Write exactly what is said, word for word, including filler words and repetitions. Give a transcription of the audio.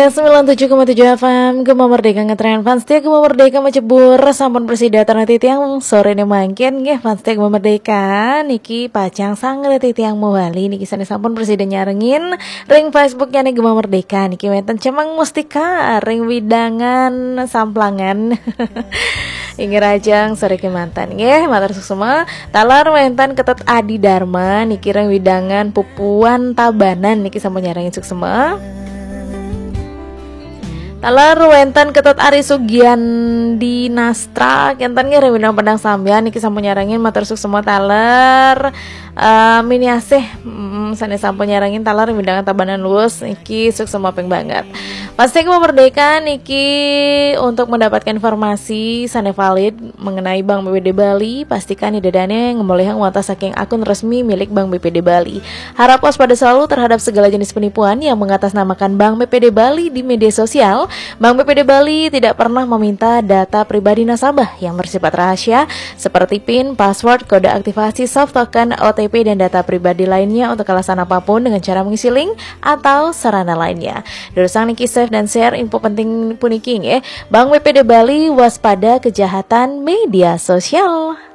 Sembilan tujuh koma tujuh F M Gema Merdeka ngetren. Fans setia Gema Merdeka macebur, sampun prasida titiang sore ne mangkin nggih. Fans setia Gema Merdeka niki pacang sanget titiang mawali niki sane sampun prasida nyarengin ring Facebooknya nih Gema Merdeka niki wenten Cemeng Mustika ring wewidangan Samplangan. Inggih rajang sore kemanten nggih, matur suksma. Taler wenten Ketut Adi Dharma niki ring wewidangan Pupuan Tabanan niki sampun nyarengin suksma. Taler wenten Ketut Ari Sugiandi Nastra kenten nggih ring wewidangan Padang Sambian niki sampun nyarengin matur suksma taler. Eh, mini asih mm, sane sampun nyarengin taler ring wewidangan Tabanan Luwus niki suksma ping banget. Pasti Gema Merdeka niki untuk mendapatkan informasi sane valid mengenai Bank B P D Bali, pastikan ida dane ngemolihang wantah saking akun resmi milik Bank B P D Bali. Harap waspada selalu terhadap segala jenis penipuan yang mengatasnamakan Bank B P D Bali di media sosial. Bank B P D Bali tidak pernah meminta data pribadi nasabah yang bersifat rahasia seperti pin, password, kode aktivasi, soft token, O T P, dan data pribadi lainnya untuk alasan apapun dengan cara mengisi link atau sarana lainnya. Durusang niki save dan share info penting puniki nggih. Bank B P D Bali, waspada kejahatan media sosial.